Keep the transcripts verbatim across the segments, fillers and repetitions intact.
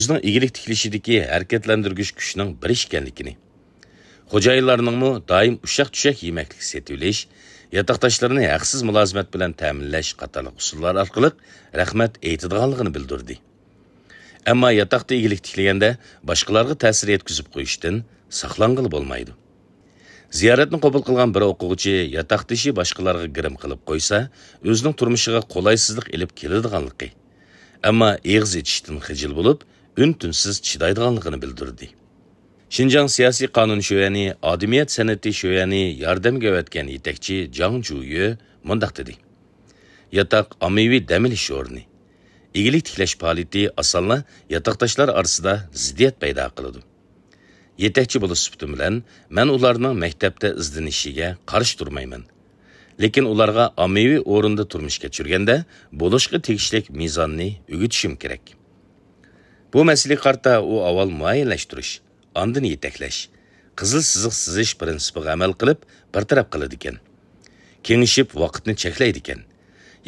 ئۆزىنىڭ ئىگىلىك تىكلىشىدىكى ھەرىكەتلەندۈرگۈچ كۈچنىڭ بىرى ئىكەنلىكىنى، خوجايىنلارنىڭمۇ دائىم ئۇششاق-چۈششەك يېمەكلىك سېتىۋېلىش، ياتاقداشلىرىنى ھەقسىز مۇلازىمەت بىلەن تەمىنلەش قاتارلىق ئۇسۇللار ئارقىلىق رەھمەت ئېيتىدىغانلىقىنى بىلدۈردى. ئەمما ياتاقتا ئىگىلىك تىكلىگەندە باشقىلارغا تەسىر يەتكۈزۈپ قويۇشتىن ساقلانغىلى بولمايدۇ. زىيارەتنى قوبۇل قىلغان بىر ئوقۇغۇچى ياتاقدىشى باشقىلارغا گىرىم قىلىپ قويسا، ئۆزىنىڭ تۇرمۇشىغا قولايسىزلىق ئېلىپ كېلىدىغانلىقى، ئەمما ئېغىز ئېچىشتىن خىجىل بولۇپ، ئۈن-تىنسىز چىدايدىغانلىقىنى بىلدۈردى. شىنجاڭ سىياسىي قانۇن شۆيەنى، ئادىمىيەت سەنئىتى شۆيەنى ياردەمگە ئەۋەتكەن يېتەكچى جاڭ جۇيۈ مۇنداق دېدى: ياتاق ئاممىۋى دەم ئېلىش ئورنى. ئىگىلىك تىكلەش پائالىيىتى ئاسانلا ياتاقداشلار ئارىسىدا زىددىيەت پەيدا قىلىدۇ. يېتەكچى بولۇش سۈپىتىم بىلەن، مەن ئۇلارنىڭ مەكتەپتە ئىزدىنىشىگە قارشى تۇرمايمەن. لېكىن ئۇلارغا ئاممىۋى ئورۇندا تۇرمۇش كەچۈرگەندە بولۇشقا تېگىشلىك مىزاننى ئۆگىتىشىم كېرەك. بۇ مەسىلىگە قارىتا ئۇ ئاۋۋال مۇئەييەنلەشتۈرۈش، ئاندىن يېتەكلەش، قىزىل سىزىق سىزىش پىرىنسىپىغا ئەمەل قىلىپ بىر تەرەپ قىلىدىكەن. كېڭىشىپ ۋاقىتنى چەكلەيدىكەن.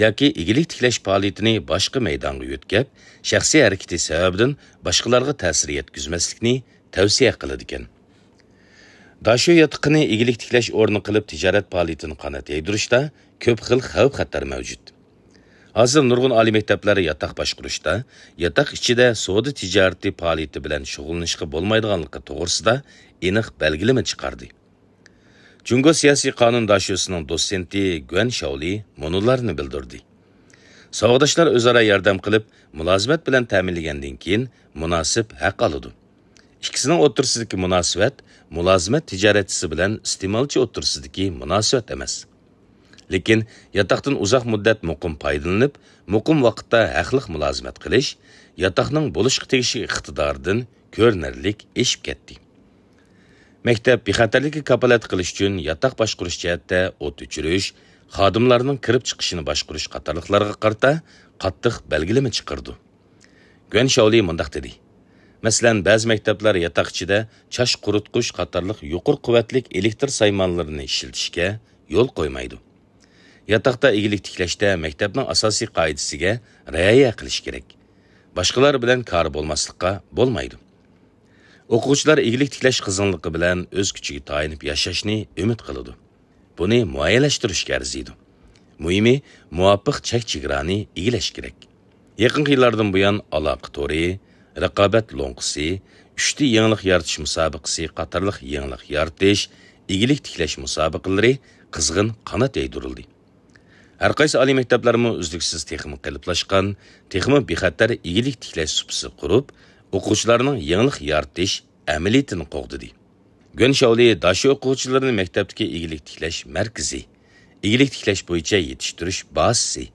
ياكى ئىگىلىك تىكلەش پائالىيىتىنى باشقا مەيدانغا يۆتكەپ، شەخسىي ھەرىكىتى سەۋەبىدىن باشقىلارغا تەسىر يەتكۈزمەسلىكنى تەۋسىيە قىلىدىكەن. داشۆ ياتىقىنى ئىگىلىك تىكلەش ئورنى قىلىپ تىجارەت پائالىيىتىنى قانات يايدۇرۇشتا كۆپ خىل خەۋپ-خەتەر مەۋجۇت. ھازىر نۇرغۇن ئالىي مەكتەپلەر ياتاق باشقۇرۇشتا، ياتاق ئىچىدە سودا تىجارىتى پائالىيىتى بىلەن شۇغۇللىنىشقا بولمايدىغانلىقى توغرىسىدا ئېنىق بەلگىلىمە چىقاردى. جۇڭگو سىياسىي قانۇن داشۆسىنىڭ دوتسېنتى گۇەن شاۋلى مۇنۇلارنى بىلدۈردى: ساۋاقداشلار ئۆزئارا ياردەم قىلىپ، مۇلازىمەت بىلەن تەمىنلىگەندىن كېيىن مۇناسىپ ھەق ئالىدۇ. ئىككىسىنىڭ ئوتتۇرىسىدىكى مۇناسىۋەت مۇلازىمەت تىجارەتچىسى بىلەن ئىستېمالچى ئوتتۇرىسىدىكى مۇناسىۋەت ئەمەس. لېكىن ياتاقتىن ئۇزاق مۇددەت مۇقىم پايدىلىنىپ، مۇقىم ۋاقىتتا ھەقلىق مۇلازىمەت قىلىش ياتاقنىڭ بولۇشقا تېگىشلىك ئىقتىدارىدىن كۆرۈنەرلىك ئېشىپ كەتتى. مەكتەپ بىخەتەرلىككە كاپالەتلىك قىلىش ئۈچۈن ياتاق باشقۇرۇش جەھەتتە ئوت ئۆچۈرۈش، خادىملارنىڭ كىرىپ چىقىشىنى باشقۇرۇش قاتارلىقلارغا قارىتا قاتتىق بەلگىلىمە چىقىرىدۇ. گۇەن شاۋلى مۇنداق دېدى: مەسىلەن، بەزى مەكتەپلەر ياتاق ئىچىدە چاچ قۇرۇتقۇچ قاتارلىق يۇقىرى قۇۋۋەتلىك ئېلېكتر سايمانلىرىنى ئىشلىتىشكە يول قويمايدۇ. ياتاقتا ئىگىلىك تىكلەشتە مەكتەپنىڭ ئاساسىي قائىدىسىگە رىئايە قىلىش كېرەك. باشقىلار بىلەن كارى بولماسلىققا بولمايدۇ. ئوقۇغۇچىلار ئىگىلىك تىكلەش قىزغىنلىقى بىلەن ئۆز كۈچىگە تايىنىپ ياشاشنى ئۈمىد قىلىدۇ. بۇنى مۇئەييەنلەشتۈرۈشكە ئەرزىيدۇ. مۇھىمى، مۇۋاپىق چەك-چېگرانى ئىگىلەش كېرەك. يېقىنقى يىللاردىن بۇيان، ئالاقە تورى، رىقابەت لوڭقىسى، ئۈچ دى يېڭىلىق يارىتىش مۇسابىقىسى قاتارلىق يېڭىلىق يارىتىش، ئىگىلىك تىكلەش مۇسابىقىلىرى قىزغىن قانات يايدۇرۇلدى. ھەرقايسى ئالىي مەكتەپلەرمۇ ئۈزلۈكسىز تېخىمۇ قېلىپلاشقان، تېخىمۇ بىخەتەر ئىگىلىك تىكلەش سۇپىسى قۇرۇپ، ئوقۇغۇچىلارنىڭ يېڭىلىق يارىتىش ئەمەلىيىتىنى قوغدىدى. گۈەن شاۋلى داشۆ ئوقۇغۇچىلىرىنى مەكتەپتىكى ئىگىلىك تىكلەش مەركىزى، ئىگىلىك تىكلەش بويىچە يېتىشتۈرۈش بازىسى،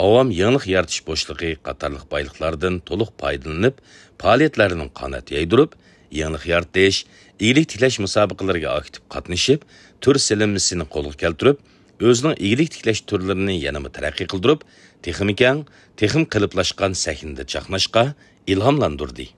ئاۋام يېڭىلىق يارىتىش بوشلۇقى قاتارلىق بايلىقلاردىن تولۇق پايدىلىنىپ، پائالىيەتلەرنىڭ قانات يايدۇرۇپ، يېڭىلىق يارىتىش، ئىگىلىك تىكلەش مۇسابىقىلىرىگە ئاكتىپ قاتنىشىپ، تۈر سېلىنمىسىنى قولغا كەلتۈرۈپ، ئۆزىنىڭ ئىگىلىك تىكلەش تۈرلىرىنى يەنىمۇ تەرەققىي قىلدۇرۇپ، تېخىمۇ كەڭ، تېخىمۇ قېلىپلاشقان سەھنىدە چاقناشقا ئىلھاملاندۇردى.